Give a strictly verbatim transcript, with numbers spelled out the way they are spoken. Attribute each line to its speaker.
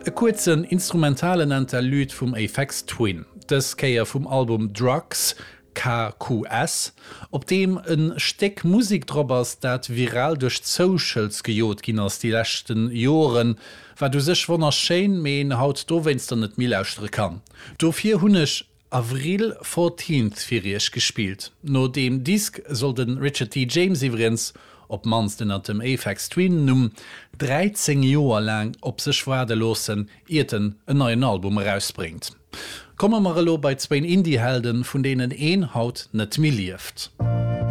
Speaker 1: E kuerzen instrumentalen Interlude vum Aphex Twin, dës Kéier vum Album Drugs KQS, op deem e Stéck Musek drop ass, dat viral duerch d'Socials gejot ginn ass déi leschten Joren, wat u sech wonnerschéin, mee een haut dowéinster net méi lauschtere kann. Dofir hunn ech Avril Fourteenth fir iech gespillt. No deem Disk soll de Richard T. James iwwregens, op d'mannst ënner dem Aphex Twin Numm, dräizéng Joer laang op sech waarde loossen, iert en en neien Album erausbréngt. Komme mer elo bei zwéin Indie-Helden, vun deenen een haut net méi lieft.